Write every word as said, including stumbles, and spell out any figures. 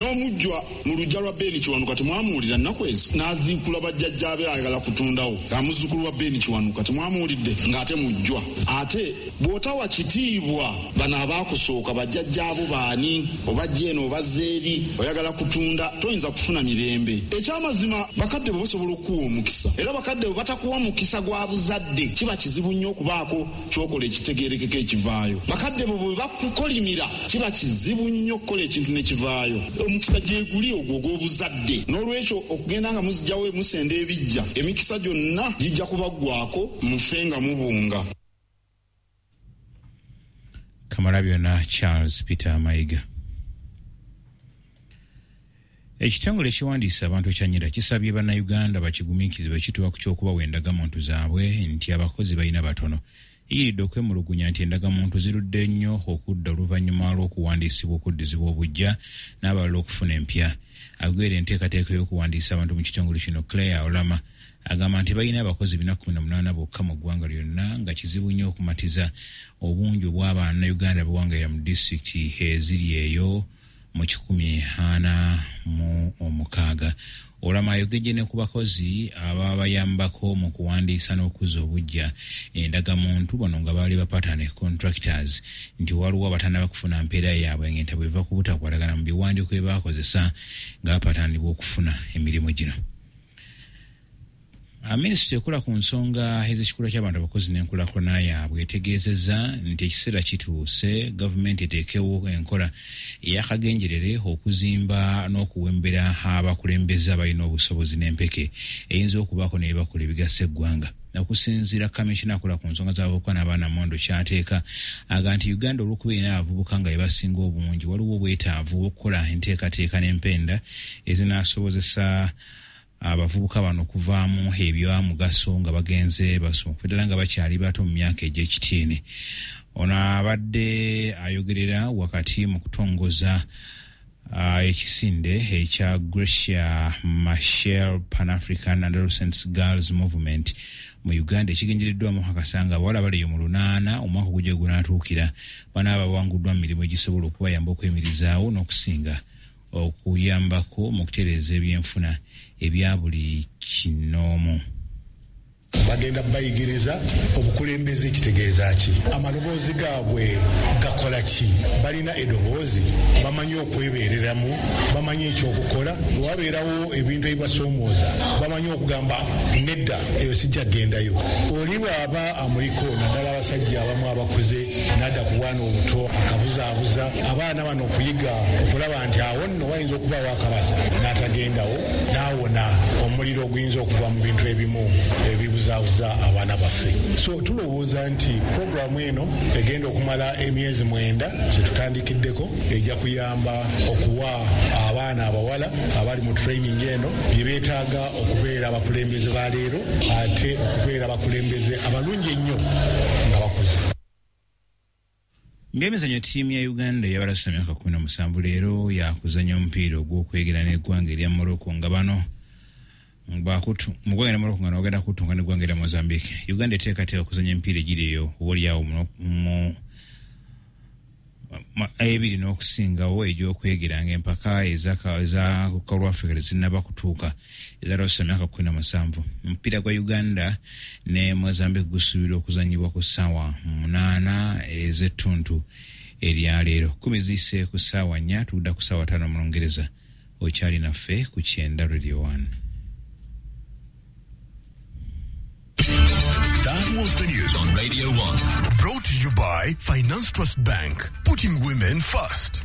N'omujjwa mu luggya lwa Beni Kiwanuka temwamuwulira nnaku ezo, n'aziikula bajjajjaabe ayagala kutundawo. Amuzzukulu wa Beni Kiwanuka temwamuwulidde ng'ate mujjwa. Ate bw'otawa kitiibwa bano abaakusooka bajjajjaabo baani, obajja eno obazza eri, oyagala kutunda, toyinza kufuna mirembe. Ekyamazima bakadde bo basobola okukuwa omukisa, era bakadde bo batakuwa mukisa gwa buzadde kiba kizibu nnyo okubaako ky'okola ekitegeerekeka ekivaayo. Bakadde bo bwe bakukolimira kiba kizibu nnyo okukola ekintu ne kivaayo. Omukisa gyeguli ogwo ogw'obuzadde. N'olwekyo okugenda nga muzijjawo musenda ebijja, emikisa gyonna gijja kubaggwako mufe nga mubunga. Kamalabyonna Charles Peter Mayiga. Ekitongole ekiwandiisa abantu ekya NIRA kisabye bannayuganda bakigumiikirize bwe kituuka ku ky'okubawa endagamuntu zaabwe nti abakozi balina batono. Eyiridde okwemulugunya nti endagamuntu zirudde nnyo okudda oluvannyuma lw'okuwandiisibwa okuddizibwa obuggya n'abalala okufuna empya. Agwera enteekateeka y'okuwandiisa abantu mu kitongole kino Claire Olama agamba nti balina abakozi bina kkumi na munaana bokka mu ggwanga lyonna, nga kizibu nnyo okumatiza obungi obw'abannayuganda abawangalira mu disitulikiti eziri eyo mu kikumi ana mu omukaaga. Olama ayogedde ne ku bakozi ababayambako mu kuwandiisa n'okuzza obuggya endagamuntu bano nga baali ba partner contractors, nti waliwo abatannaba kufuna mpeera yaabwe ng'entabwe eva ku butakwatagana mu biwandiiko bye baakozesa nga bapatanibwa okufuna emirimu gino. Minisitule ekola ku nsonga ez'ekikula ky'abantu abakozi n'enkulaakulana yaabwe etegeezezza nti ekiseera kituuse gavumenti eteekewo enkola ey'akagenderere okuzimba n'okuwembera abakulembeze abalina obusobozi n'empeke eyinza okubaako ne bye bakola ebigasa eggwanga. Okusinziira kamishina akola ku nsonga z'abavubuka n'abaana Mondo Kyateeka agamba nti Uganda olw'okuba erina abavubuka nga be basinga obungi, waliwo obwetaavu bw'okukola enteekateeka n'empenda ezinaasobozesa abavubuka bano okuvaamu ebyamugaso nga bagenze basoma ddala nga bakyali bato mu myaka egy'ekitiini. Ono abadde ayogerera wakati mu kutongoza uh, ekisinde ekya Gracia Machel Pan-African Adolescents Girls Movement mu Uganda ekigendereddwamu okukakasa nga abawala bali eyo mu lunaana omwaka ogujja gunaatuukira banaaba bawanguddwa mu mirimu egisobola okubayamba okweyimirizaawo n'okusinga okuyambako mu kutereeza ebyenfuna ebya buli kinoomu. Bagenda bayigiriza obukulembeze kitegeeza ki, amaloboozi gaabwe gakola ki, balina eddoboozi, bamanyi okwebeereramu, bamanyi ekyokukola, wabeerawo ebintu ebibasoomooza bamanyi okugamba nedda eyo sijja kugendayo. Oli bw'aba amuliko naddala abasajja abamu abakuze n'adda ku bwana obuto akabuzaabuza abaana bano okuyiga okulaba nti awo nno wayinza okubaawo akabasa n'atagendawo n'awona omuliro oguyinza okuva mu bintu ebimu ebibuzaabuza abaana baffe. So tulowooza nti puroguramu eno egenda okumala emyezi mwenda kyetutandikiddeko ejja kuyamba okuwa abaana abawala abali mu training eno bye beetaaga okubeera abakulembeze ba leero ate okubeera abakulembeze abalungi ennyo nga bakuze. Ng'emizannyo, ttiimu ya Uganda ey'abalasa emyaka kkumi na musanvu leero yakuzannya omupiira ogw'okwegera n'eggwanga erya Morocco nga bano bakutu mu ggwanga erya Morocco nga bagenda kutunga n'eggwanga erya Mozambique. Uganda eteekateeka okuzannya emipiira egiri eyo oboolyawo mu ebiri n'okusingawo egy'okwegera ng'empaka eza Kalwa Africa tezinnaba kutuuka ezaloosa emyaka kkumi na musanvu. Omupiira gwa Uganda ne Mozambique gusuubirwa okuzannyibwa ku ssaawa munaana ez'ettuntu erya leero. Kkumi ziyise ku ssaawa nnya, tudda ku ssaawa ttaano mu Lungereza. Okyali naffe ku Kyenda Radio one. That was the news on Radio one. Brought to you by Finance Trust Bank, putting women first.